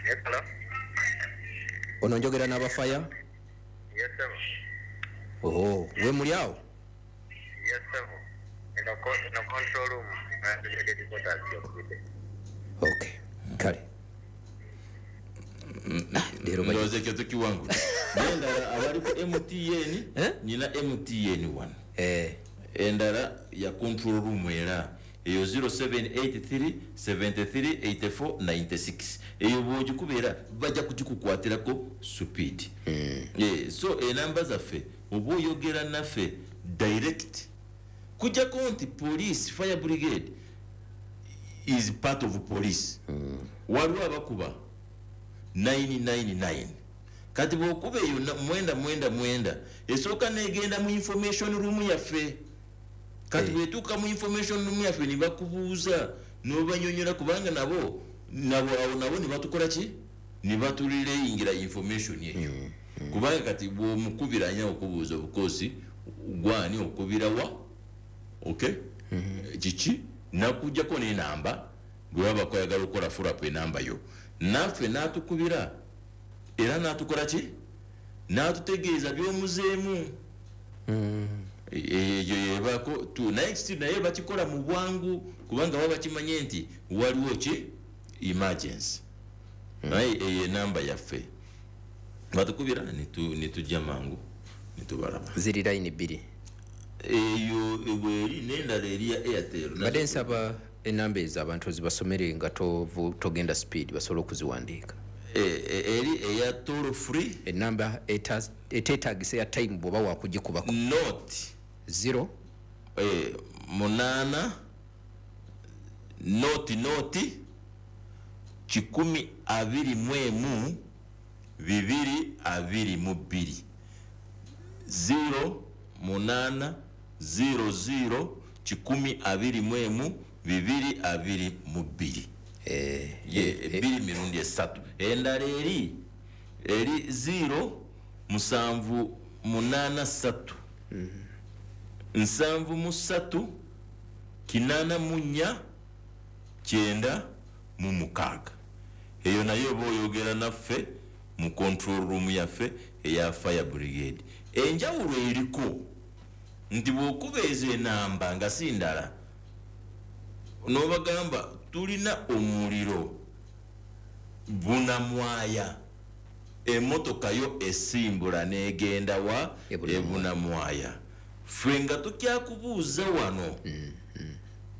Yes, hello. Ono njogera n'abafaya? Yes, sir. Oh, we muli awo? Yes, sir. Eno control room. Headquarters yokubidde. Okay, kale. Leero Ndowooza ekyo tukiwangula. Nendala abali ku MTN. Eh? Nina MTN wano. Endala ya control room, era eyo 0783 73 84 96. Eyo bwogikubeera bajja kugikukwatirako speed. So enamba zaffe oba oyogera naffe direct, kujjako nti police, fire brigade is part of police. Waliwo abakuba 999. Kati bwokuba eyo 999 esooka negenda mu information room yaffe. Kati bwetuuka mu information room yaffe ne bakubuuza n'obanyonyola, kubanga nabo awo nabo ne batukola ki, ne batuleyingira information eyo. Kubanga kati bwomukubira anya okubuuza obukosi gwani okubira wa, okay, kiki nakujjako n'enamba bwe baba bakwagala okukola follow up enamba yo, naffe n'atukubira era n'atukola ki, n'atutegeeza by'omuzeemu. Eyo yebako tu, naye still naye bakikola mu bwangu kubanga baba bakimanye nti waliwo ki, emergency. Naye eyo enamba yaffe batukubira nitujja mangu nitubalaba. Ziri line bbiri. Eyo bweri n'endala eri ya Airtel. Mbadde nsaba enamba ezo abantu zibasomere nga togenda speed, basobole okuziwandiika. Eri eya toll free. Enamba eteetagisa ya time bw'oba wakugikubako. Nought. 0. 8 nought nought 121 222, 0 8 0 0 121 222. Ye ebiri mirundi esatu. Endala eri 0 7 8 3 73 84 96. Eyo nayo oba oyogera naffe mu control room yaffe eya fire brigade. Enjawulo eriko nti bw'okuba ezo enamba nga si ndala n'obagamba tulina omuliro Bunamwaya, emotoka yo esimbula n'egenda wa? Ebunamwaya. Ebunamwaya. Ffe nga tukyakubuuza wano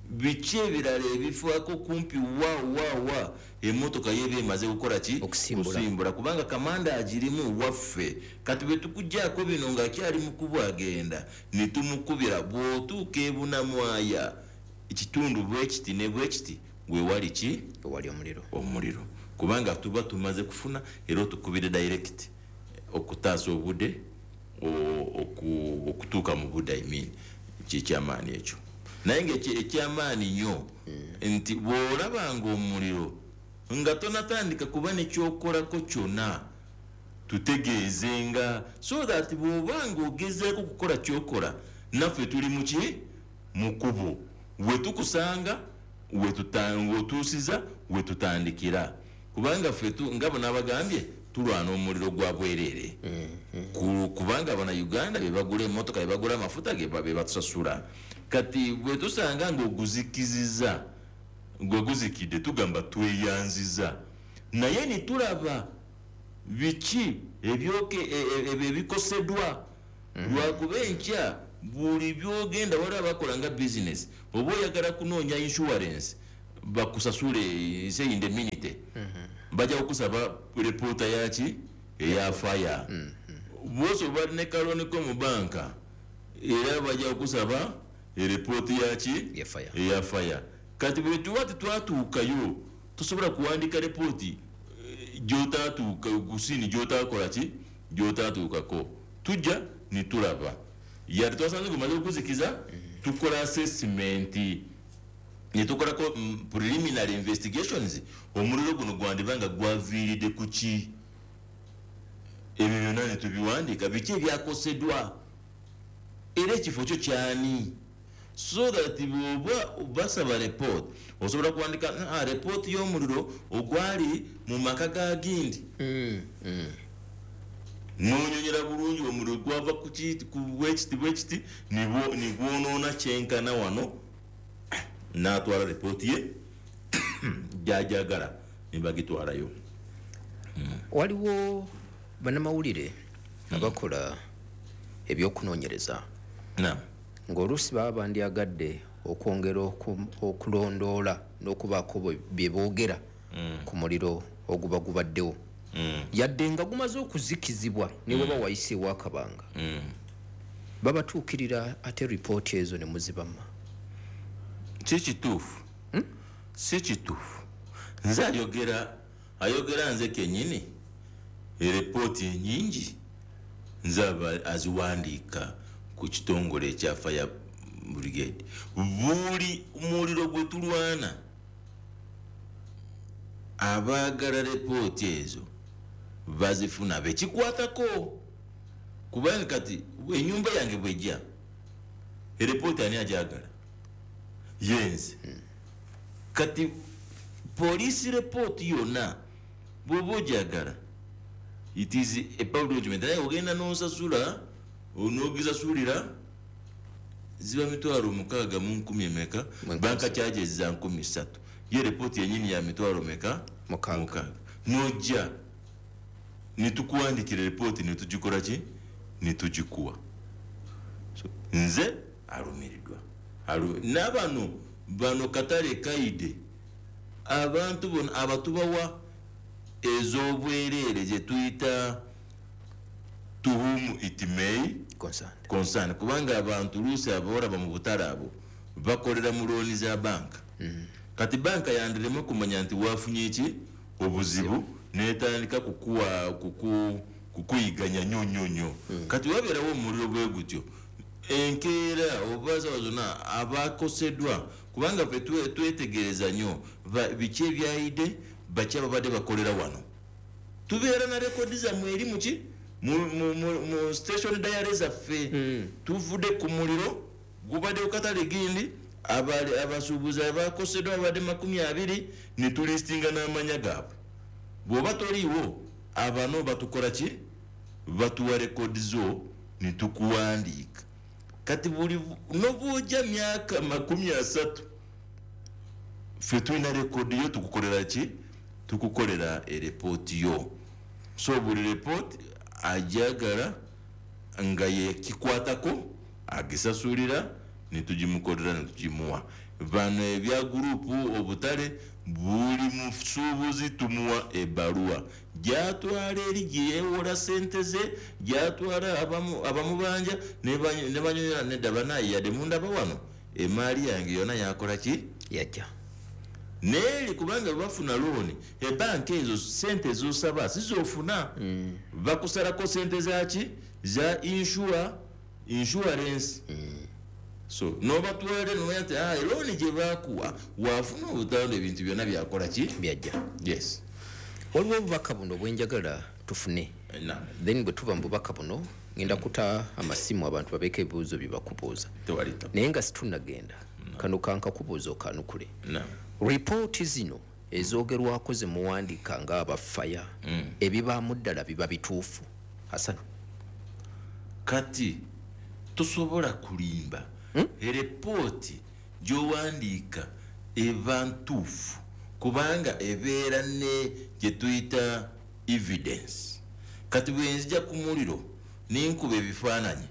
biki ebirala ebifaako kumpi wa wa wa, emotoka yeba emaze kukola ki? Okusimbula. Kusimbula, kubanga kamanda agirimu waffe. Kati bwe tukuggyako bino ng'akyali mukubu agenda ne tumukubira, bw'otuuka Ebunamwaya ekitundu bwe kiti ne bwe kiti wewali ki? Ewali omuliro. Omuliro, kubanga tuba tumaze kufuna era otukubire direct okutaasa obudde, okutuuka mu budde. I mean, kyekyamaanyi ekyo, naye nga ekyamaanyi nnyo nti bw'olabanga omuliro nga tonatandika kuba nekyokolako kyonna, tutegeezenga so that bw'obanga ogezeeko kukola kyokola, naffe tuli muki, mukubo wetukusanga wetusiza wetutandikira, kubanga ffe nga bo n'abagambye tulwana omuliro gwa bwereere. Kubanga bana Uganda bebagula emmotoka, bebagula amafuta, bebatusasula. Kati bwe tusanga ng'oguzikiziza, gwe guzikidde, tugamba tweyanziza, naye nitulaba biki ebyoke ebyo ebikoseddwa. Lwakuba enkya buli byogenda waliwo abakola nga bizinesi, oba oyagala kunoonya insurance bakusasule, say indemnity, bajja kukusaba repoota yaki, eya fire. Bwosi oba ne ka loan ko mu banka, era bajja kukusaba erepooti yaki? Ya fire. Eya fire. Kati bwe tuba tetwatuukayo, tosobola kuwandika repooti gyotatuuka kusini, gyotakola ki, gyotatuukako. Tujja nitulaba yadde twasanze gumaze okuzikiza, tukola assessment netukolako preliminary investigations, omuliro guno gwandiba nga gwaviiridde ku ki, ebyo byonna netubiwandiika, biki ebyakoseddwa, era ekifo kyo kyani. So that bw'oba basaba report, osobola kuwandika report y'omuliro ogwali mu maka ga gindi, nonyonyera bulungi omuliro gwava ku bwekiti bwekiti, nigwonoona kyenkana wano, n'atwala ripooti ye gyajagala nibagitwalayo. Waliwo bannamawulire abakola ebyokunoonyereza ng'oluusi baba bandyagadde okwongera okulondoola n'okubaako bye boogera ku muliro oguba gubaddewo, yadde nga gumaze okuzikizibwa ne bweba wayiseewo akabanga, babatuukirira ate ripooti ezo ne muzibamma. Si kituufu, si kituufu. Nze ayogera nze kennyini, eripooti enyingi nze aziwandiika ku kitongole ekya Fire Brigade. Buli muliro gwe tulwana, abaagala ripooti ezo bazifuna bekikwatako, kubanga kati enyumba yange bwejja, eripooti ani ajagala? Yenze. Kati police report yonna bw'oba ojagala, it is a public document, naye ogenda n'osasula, onogisasulira ziba 6,000 emeka, banka charges za 3,000, ye report yenyini ya 6,000 meka? 6. Nojja nitukuwandikira report, nitugikola ki, nitugikuwa. So nze alumiriddwa n'abano bano katale kaide, abantu bona abatubawa ez'obwereere gye tuyita to whom it may concern, kubanga abantu luusi abolaba mu butale abo bakolera mu looni za banka. Kati banka yandirema kumanya nti wafunye ki obuzibu, netandika kukuyiganya nnyo nnyo nnyo. Kati wabeerawo omuliro bwe gutyo enkeera obaza zonna abakoseddwa, kubanga ffe twetegereza nnyo biki ebyayidde, baki ababadde bakolera wano. Tubeera na rekodi zammwe eri muki mu station diary zaffe. Tuvudde ku muliro gubadde ku katale gindi, abasuubuzi abakoseddwa babadde 20, ne tulistinga n'amanya gaabwe. Bw'oba toliiwo, abano batukola ki? Batuwa rekodi zo ne tukuwandiika. Kati buli nobwojja myaka 30, ffe tulina rekodi yo, tukukolera ki? Tukukolera erepooti yo. So buli repooti ajagala nga yekikwatako agisasulira, netugimukolera netugimuwa. Bano ebya gurupu obutale, buli musuubuzi tumuwa ebbaluwa gyatwala eri gyeyewola sente ze, gyatwala abamubanja ne banyonyola nedda, banaye yadde mundaba wano emaali yange yonna yakola ki? Yajja. Neeri kubanga bafuna looni, ebanka ezo sente zosaba sizofuna, bakusalako sente zaki za insurance. So nobatwale nomanya nti looni gye bakuwa wafuna obutando, ebintu byonna byakola ki? Byajja. Yes. Waliwo obubaka buno bwenjagala tufune. Then bwe tuva mu bubaka buno ngenda kuta amasimu abantu babeeko ebibuuzo bye bakubuuza, naye nga situnnagenda, kano kankakubuuza okanukule. Ripooti zino ezoogerwako ze muwandiika ng'abafaya, ebibaamu ddala biba bituufu? Hassan. Kati tosobola kulimba. Eripooti gy'owandiika eba ntuufu kubanga ebeera ne gye tuyita evidence. Kati bwe nzija ku muliro nenkuba ebifaananyi,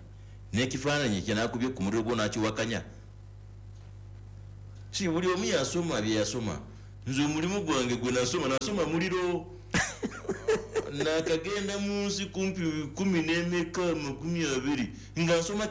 n'ekifaananyi kye nakubye ku muliro gwo nakiwakanya, si buli omu yasoma bye yasoma. Nze omulimu gwange gwe nasoma, nasoma muliro. Nakagenda mu nsi kumpi 10 n'emeka 20 nga nsoma.